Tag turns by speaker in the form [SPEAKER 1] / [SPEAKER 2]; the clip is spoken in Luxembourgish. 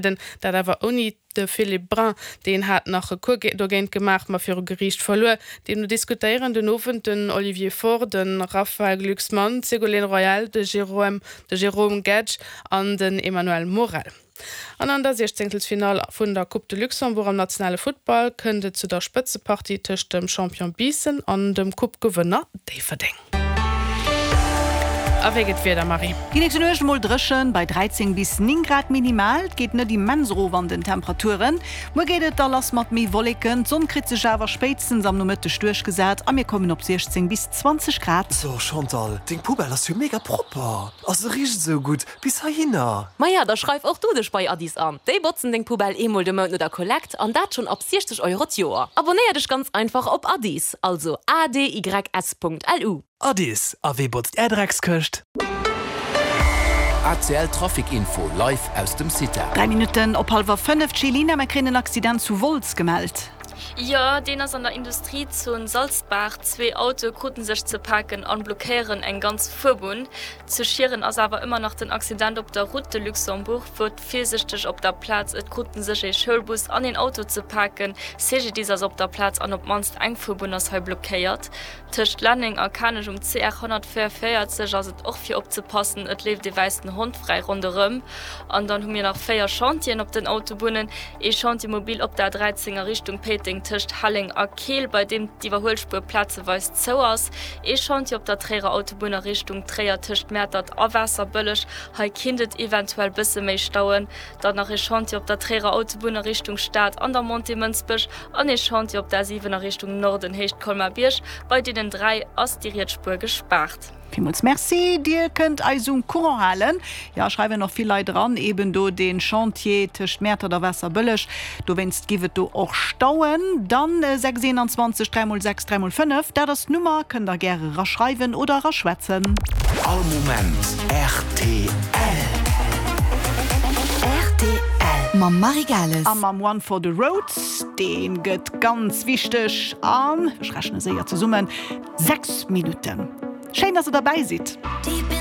[SPEAKER 1] Dat awer ouni de Philippe Brun. Deen hat nach Recours dogéint gemaach, ma viru Geriicht verluer. Deemno diskutéieren den Owend den Olivier Faure, de Raphaël Glucksmann, d'Ségolène Royal, de Jérôme de Jérôme Guedj an den Emmanuel Morel. An an der Siechzéngtelsfinall vun der Coupe de Luxembourg am nationale Futtball kënnt et zu der Spëtzepartie tëscht dem Champion Biissen an dem Coupe-Gewënner Déifferdeng. A wéi gëtt d'Wieder, Marie?
[SPEAKER 2] Déi nächste Nuecht mol dréchen, bei 13 bis 9 Grad minimal. Et geet net immens erof an den Temperaturen. Muer geet et da lass mat méi Wolleken, d'Sonn kritt sech awer spéitstens am Nomëtteg duerchgesat a mir kommen op 16 bis 20 Grad.
[SPEAKER 3] So Chantal, deng Poubelle ass jo mega propper a se richt esou gutt bis heihinner.
[SPEAKER 4] Maja, da schreif och du dech bei Addis an. Déi botzen deng Poubelle eemol de Mount no der Kollekt an dat schonn ab 60 Euro d'Joer. Abonéier dech ganz einfach op Addis, also adys.lu.
[SPEAKER 3] Addis, a wee botzt är Dreckskëscht?
[SPEAKER 5] ACL Trafic Info live aus dem CITA.
[SPEAKER 2] 3 Minutten op hallwer 5, D'Chelina, mer kréien en Accident zu Wolz gemellt.
[SPEAKER 6] Jo, deen ass an der Industriezon Salzbaach. Zwee Autoe kruten sech ze paken an blockéieren eng ganz Fuerbunn. Zu Schieren ass awer ëmmer nach den Accident op der Route de Luxembourg. Fuert virsichteg op der Plaz, et kruten sech ee Schoulbus an een Auto ze paken. CGDIS ass op der Plaz an op d'mannst eng Fuerbunn ass hei blockéiert. Tëscht Lenneng a Kanech um CR 144 ass et och fir opzepassen, et leeft ee wäissen Hond fräi ronderëm. An dann hu mir nach 4 Chantieren op den Autobunnen, ee Chantier mobile op der A13 a Richtung Péiteng tëscht Helleng a Keel, bei deem d'Iwwerhuelspuer plazeweis zou ass, ee Chantier op der Tréierer Autobunn a Richtung Tréier tëscht Mäertert a Waasserbëlleg, hei kinnt et eventuell bësse méi stauen, dann nach ee Chantier op der Tréierer Autobunn a Richtung Stad an der Montée Mënsbech an ee Chantier op der A7 a Richtung Norden, Héicht Colmar-Bierg. Bei deenen 3 ass déi riets Spuer gespaart.
[SPEAKER 2] Villmools Merci, Dir kënnt eis um Courant halen. Jo, schreiwen och vill Leit eran, eben do dee Chantier tëscht Mäertert a Waasserbëlleg, dowéinst giff et do och stauen. Dann 6 21 3 mol 6 3 mol 5, dat ass d'Nummer, kënnt der gäre eraschreiwen oder eraschwätzen.
[SPEAKER 5] All Moment rtl.
[SPEAKER 7] Rtl mam Marie Gales.
[SPEAKER 2] A mam One for the Road, dee gëtt ganz wichteg an, ech rechne séier zesummen, 6 Minutten. Schéin, dass der derbäi sidd.